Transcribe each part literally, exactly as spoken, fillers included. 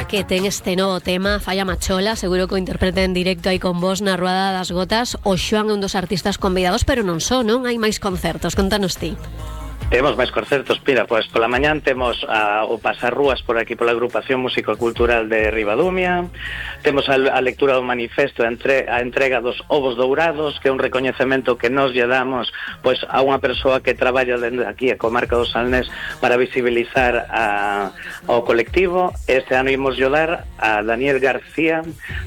Que ten este novo tema, Falla Machola, seguro que o interpreta en directo aí con vos na Ruada das Gotas. O Xoan é un dos artistas convidados, pero non só, non? Hai máis concertos, contanos ti. Temos máis concertos, mira, pois pola mañán temos a, o Pasarrúas por aquí pola Agrupación Músico-Cultural de Ribadumia. Temos a, a lectura do manifesto, a, entre, a entrega dos ovos dourados, que é un recoñecemento que nos lle damos pois a unha persoa que traballa dende aquí a comarca do Salnés para visibilizar a, ao colectivo. Este ano imos lle dar a Daniel García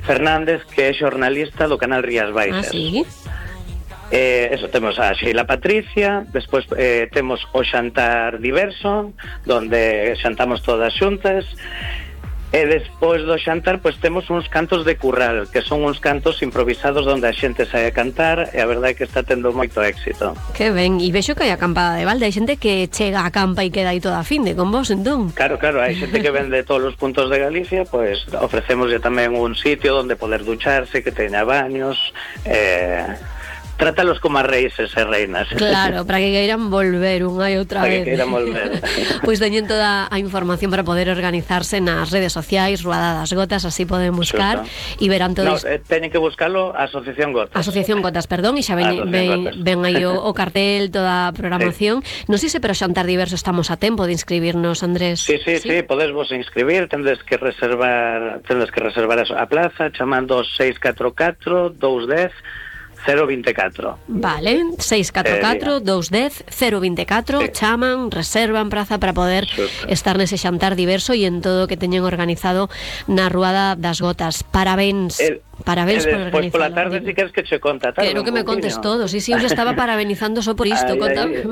Fernández, que é xornalista do canal Rías Baixas. Ah, sí? Eh, eso, temos a Sheila Patricia, despois eh, temos o xantar diverso, donde xantamos todas xuntas, e despois do xantar pois temos uns cantos de curral, que son uns cantos improvisados onde a xente sae a cantar, e a verdade é que está tendo moito éxito. Que ben, e vexo que hai acampada de balde, hai xente que chega a campa e queda aí toda a finde con vos, entón. Claro, claro, hai xente que vende todos os puntos de Galicia, pois ofrecémoslle tamén un sitio onde poder ducharse, que teña baños, eh... trátalos como a reíses e reinas. Claro, para que queiran volver unha e outra vez. Para que queiran volver. Pois teñen toda a información para poder organizarse nas redes sociais, Ruada das Gotas, así poden buscar e verán todo no, isto. eh, teñen que buscarlo a Asociación Gotas. Asociación Gotas, perdón, e xa ven, ven, ven aí o, o cartel, toda a programación. Sí. Non sei se pero xantar diverso estamos a tempo de inscribirnos, Andrés. Sí, sí, sí, sí, podes vos inscribir, tendes que reservar, tendes que reservar a plaza chamando seis catro catro, dous dez, cero vinte e catro. Vale, seis catro catro, dous dez, cero vinte e catro, sí. Chaman, reservan praza para poder Xusto. estar nese xantar diverso e en todo o que teñen organizado na Ruada das Gotas. Parabéns. El... Parabéns por organizarlo. Pois pola tarde si queres que che conta tarde. Quero que me contes todo. Sí, sí, eu já estaba parabenizando só por isto. Contame.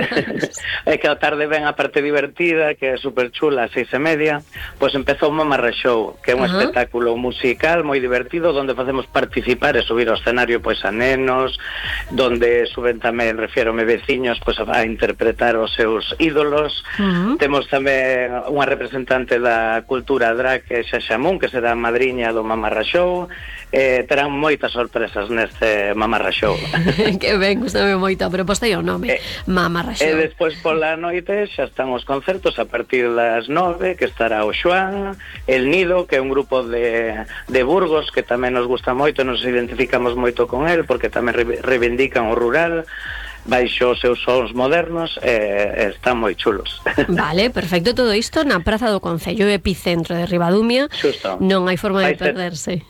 É que a tarde ven a parte divertida, que é super chula, a seis e media. Pois empezou o Mamarra Show, que é un uh -huh. espectáculo musical moi divertido, onde facemos participar e subir ao escenario pois a nenos, donde suben tamén, refiérome, veciños pois a interpretar os seus ídolos. Uh -huh. Temos tamén unha representante da cultura drag, que é Xaxamún, que será a madriña do Mamarra Show. Eh, terán moitas sorpresas neste Mamarra Show. Que ben, gustame moito a proposta e o nome, eh, Mamarra Show. E despois pola noite xa están os concertos a partir das nove, que estará o Xoan, El Nido, que é un grupo de, de Burgos que tamén nos gusta moito, nos identificamos moito con el porque tamén reivindican o rural baixo os seus sons modernos, e eh, están moi chulos. Vale, perfecto, todo isto na Praza do Concello, epicentro de Ribadumia. Xusto. Non hai forma de perderse.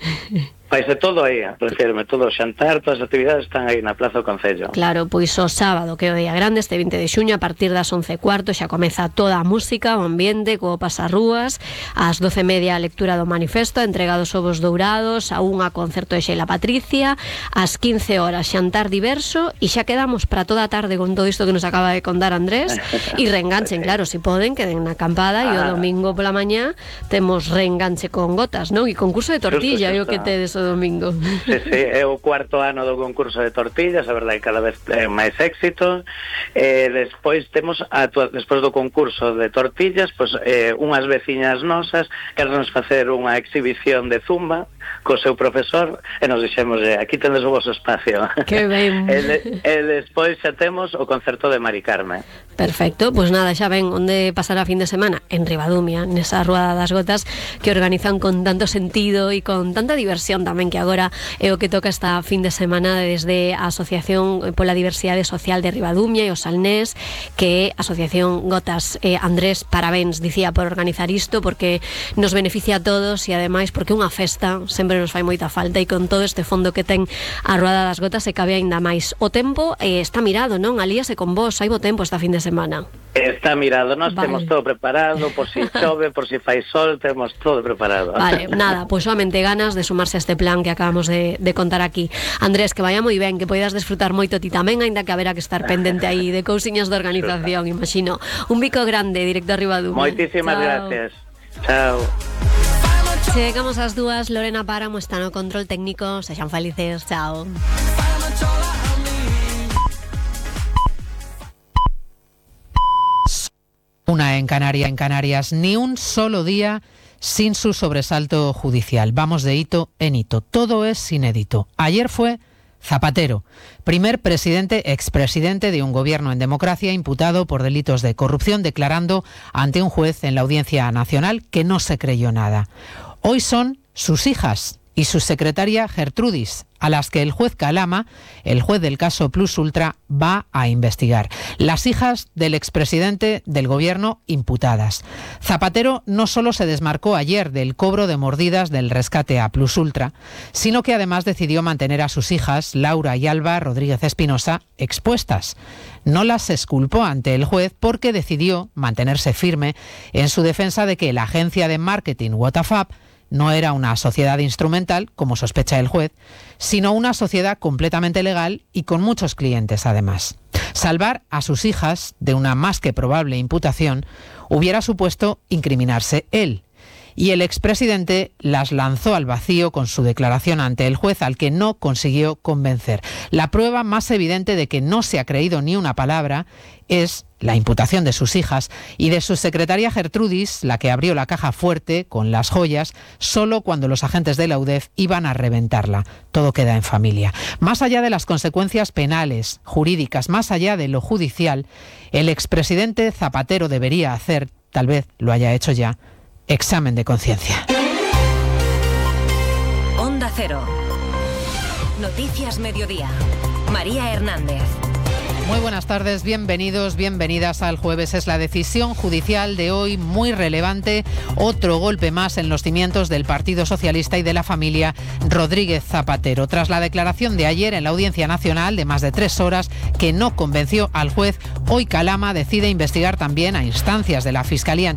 Paise todo aí, refirme, todo o xantar, todas as actividades están aí na Plaza do Concello. Claro, pois o sábado, que é o día grande, este vinte de xuño, a partir das once e cuarto, xa comeza toda a música, o ambiente, co Pasarrúas, ás doce e media a lectura do manifesto, a entrega dos ovos dourados, a unha concerto de Sheila Patricia, ás quince horas xantar diverso, e xa quedamos para toda a tarde con todo isto que nos acaba de contar Andrés, e reenganchen, claro, se si poden, queden na acampada, ah. e o domingo pola mañá temos reenganche con gotas, non? E concurso de tortilla, é o que tedes o domingo. Sí, sí, é o cuarto ano do concurso de tortillas, a verdade cada vez é máis éxito. Eh, despois temos a, despois do concurso de tortillas, pois eh, unhas veciñas nosas queremos facer unha exhibición de zumba co seu profesor e nos dixemos, eh, aquí tendes o vosso espacio. Que ben. E, de, e despois xa temos o concerto de Mari Carme. Perfecto, pois pues nada, xa ven onde pasará a fin de semana en Ribadumia, nesa Ruada das Gotas que organizan con tanto sentido e con tanta diversión tamén, que agora é o que toca esta fin de semana desde a Asociación pola Diversidade Social de Ribadumia e o Salnés, que é a Asociación Gotas. eh, Andrés, parabéns, dicía, por organizar isto, porque nos beneficia a todos e ademais porque unha festa sempre nos fai moita falta, e con todo este fondo que ten a Ruada das Gotas se cabe aínda máis. O tempo eh, está mirado, non? Alíase con vos, hai bo tempo esta fin de semana. Está mirado, nós vale. Temos todo preparado, por si chove, por si fai sol, temos todo preparado. Vale, nada, pois pues solamente ganas de sumarse a este plan que acabamos de, de contar aquí. Andrés, que vaya moi ben, que poidas desfrutar moito ti tamén, aínda que haberá que estar pendente aí de cousiñas de organización, imagino. Un bico grande, directo a Ribadumia. Moitísimas gracias. Chao. Chegamos ás dúas, Lorena Páramo está no control técnico, sexan felices, chao. Una en Canarias, en Canarias, ni un solo día sin su sobresalto judicial. Vamos de hito en hito, todo es inédito. Ayer fue Zapatero, primer presidente, expresidente de un gobierno en democracia imputado por delitos de corrupción, declarando ante un juez en la Audiencia Nacional que no se creyó nada. Hoy son sus hijas y su secretaria Gertrudis, a las que el juez Calama, el juez del caso Plus Ultra, va a investigar. Las hijas del expresidente del gobierno imputadas. Zapatero no solo se desmarcó ayer del cobro de mordidas del rescate a Plus Ultra, sino que además decidió mantener a sus hijas, Laura y Alba Rodríguez Espinosa, expuestas. No las exculpó ante el juez porque decidió mantenerse firme en su defensa de que la agencia de marketing Whatafab no era una sociedad instrumental, como sospecha el juez, sino una sociedad completamente legal y con muchos clientes además. Salvar a sus hijas de una más que probable imputación hubiera supuesto incriminarse él. Y el expresidente las lanzó al vacío con su declaración ante el juez, al que no consiguió convencer. La prueba más evidente de que no se ha creído ni una palabra es la imputación de sus hijas y de su secretaria Gertrudis, la que abrió la caja fuerte con las joyas solo cuando los agentes de la U D E F iban a reventarla. Todo queda en familia. Más allá de las consecuencias penales, jurídicas, más allá de lo judicial, el expresidente Zapatero debería hacer, tal vez lo haya hecho ya, examen de conciencia. Onda Cero. Noticias Mediodía. María Hernández. Muy buenas tardes, bienvenidos, bienvenidas al jueves. Es la decisión judicial de hoy muy relevante, otro golpe más en los cimientos del Partido Socialista y de la familia Rodríguez Zapatero. Tras la declaración de ayer en la Audiencia Nacional de más de tres horas que no convenció al juez, hoy Calama decide investigar también a instancias de la Fiscalía Anticorrupción